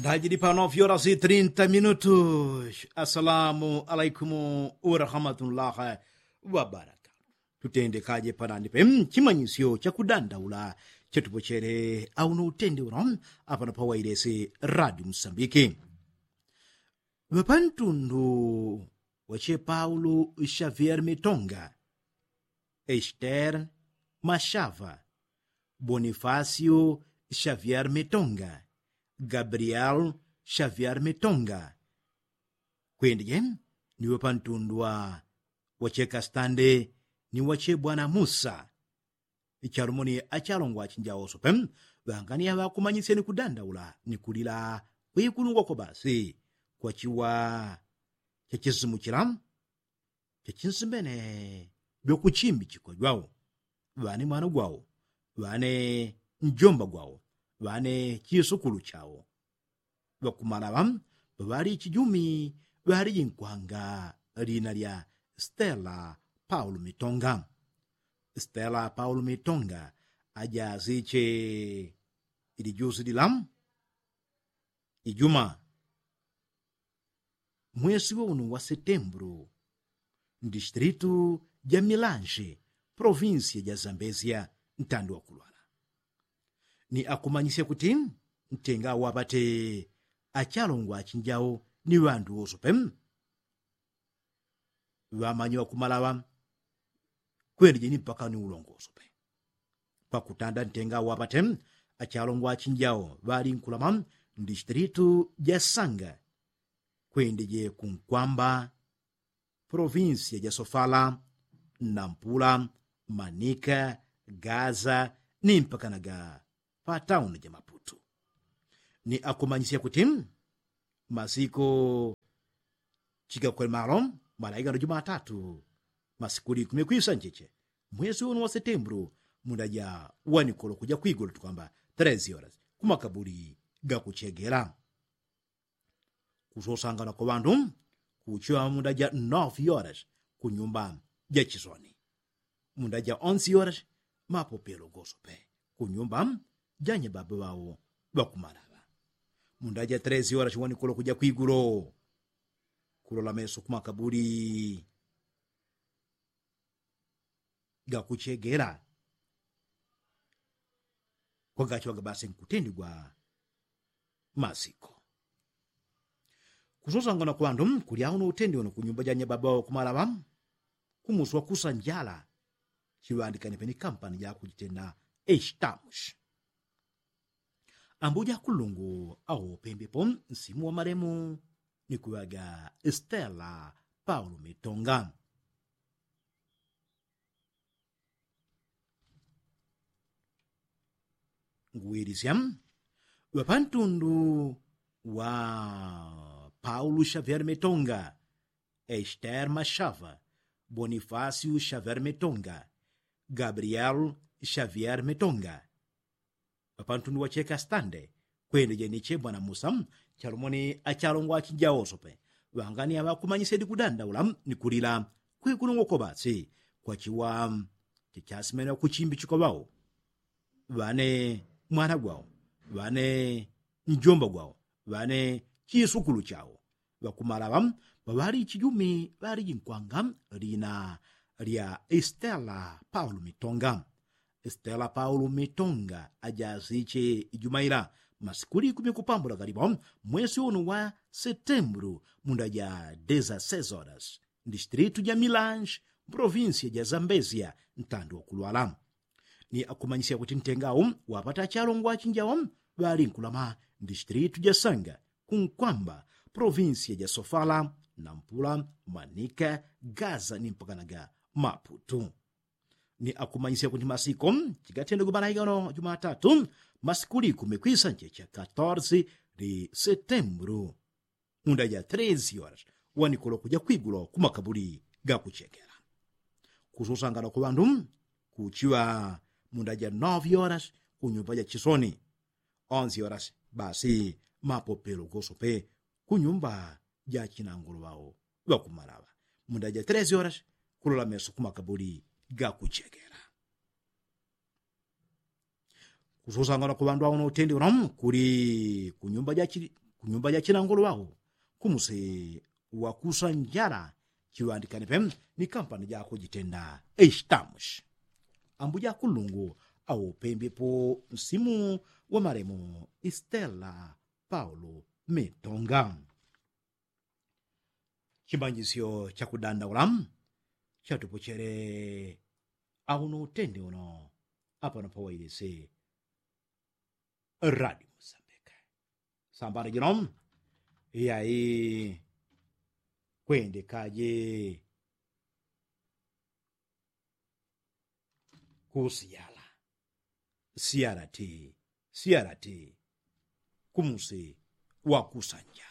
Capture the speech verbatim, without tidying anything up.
Ndajili pano fyola si trinta minutu. Asalamu alaikum warahmatullahi wabarakatu. Tutendekaje panani pe chimanyisyo chakudandaula chetupochele auno utendi uno apano pawailesi radio msambiki. Ŵapantundu wache paulo xavier mitonga, ester mashava, bonifasio xavier mitonga, gabriel xavier mitonga, kwendije ni ŵapantundu wa wache kastande ni wache bwana musa. Chalumoni achalongwa achinjawoso pe ŵangani aŵakumanyisye ni kudandaula ni kulila kwikulungwa kwa basi kwa chiwa chachisimu chila chachinsimbene ŵakuchimbi chikwa jwawo, ŵane mwana gwawo, ŵane njomba gwawo, ŵane chisukulu chawo. Ŵakumalaŵa ŵaŵali chijumi ŵalijinkwanga lina lya stela paulo mitonga. Stela paulo mitonga ajaziche ilijusi lila ijuma mwesi wa unu wa setembulu, mdistritu ja milanji provinsia ja zambezia ntandi wa kulwala. Ni akumanyisya kuti ntenga waŵate achalongwa achinjao ni ŵandu wosope ŵamanyi ŵakumalaŵa kwendije ni mpaka ni ulongosope. Pakutanda ntenga waŵate achalongwa achinjao ŵalinkulama mdistritu ja sanga kwendije kunkwamba provinsia ja sofala, nampula, manika, gaza ni mpakanaga patauni ja maputu. Ni akumanyisya kuti masiku chigakwele malo malaigano jumatatu masiku likumi kwisanjeche mwesi unu wa setembulu munda ja wanikolo kuja kwigulu tukwamba tres horas kumakabuli gakuchegela. Kusosangana kwa ŵandu kuchiŵa munda ja novi horas kunyumba ja chisoni. Munda ja onsi horas mapopelo gosope kunyumba ja nyababa ŵawo ŵakumalaŵa. Munda ja tres horas wanikulo kuja kwigulo kulola meso kumakabuli gakuchegela kwagachiŵaga basi nkutendigwa masiko. Kusosangana kwa ŵandu kulya uno utendi uno kunyumba ja nyababa ŵawo kumalaŵa kumuswa kusa njala. Chiŵandikane peni kampani ja kujitenda estamushi. Ambuja kulungu awo pembepo nsimu wa malemu ni kuŵaga stela paulo mitonga. Nguwilisya ŵapantundu wa paulo xavier mitonga, ester mashava, bonifasio xavier mitonga, gabriel xavier mitonga. Ŵapantundu wacheka stande kwende jeniche bwana musa. Chalumoni achalongwa achinjawosope ŵangani aŵakumanyisedi kudandaula ni kulila kwikulungwa kwa basi kwachiwa chachasimene ŵakuchimbi chikwa ŵawo, ŵane mwana gwawo, ŵane njomba gwawo, ŵane chisukulu chawo. Ŵakumalaŵa ŵaŵali chijumi ŵalijinkwanga lina lya stela paulo mitonga. Stela paulo mitonga ajasiche ijuma ila masiku likumi kupambula galipo mwesi unu wa setembulu munda ja deza sezoras mdistritu ja milanji mprovinsia ja zambezia ntandi wa kulwala. Ni akumanyisya kuti ntengawo wapata achalongwa achinjawo ŵalinkulama mdistritu ja sanga kunkwamba provinsia ja sofala, nampula, manika, gaza ni mpakanaga maputu. Ni akumanyisya kuti masiko chigatendegwe malaika ono jumatatu masiku likumi kwisanche cha katorsi li setembulu munda ja tresi horas wanikulo kuja kwigulo kumakabuli gakuchekela. Kususangana kwa ŵandu kuchiŵa munda ja novi horas kunyumba ja chisoni. Onsi horas basi mapopelo gosope kunyumba ja chinangulu ŵawo ŵakumalaŵa munda ja tresi horas kulola meso kumakabuli gakuchekela. Kususangana kwa ŵandu ŵauno utendi uno kuli kunyumba ja chi- kunyumba ja chinangolo wao kumusi wakusa njala chiŵandikane pe ni kampani jako jitenda estamushi. Ambuja kulungu aupembepo nsimu wa malemu istela paulo metonga. Chimanyisyo chakudandaula chatupochele auno utende uno apano pawailisi radio musambika sambano jino. Yai kwendekaje kusiyala siyala ti siyala ti kumusi wakusanja.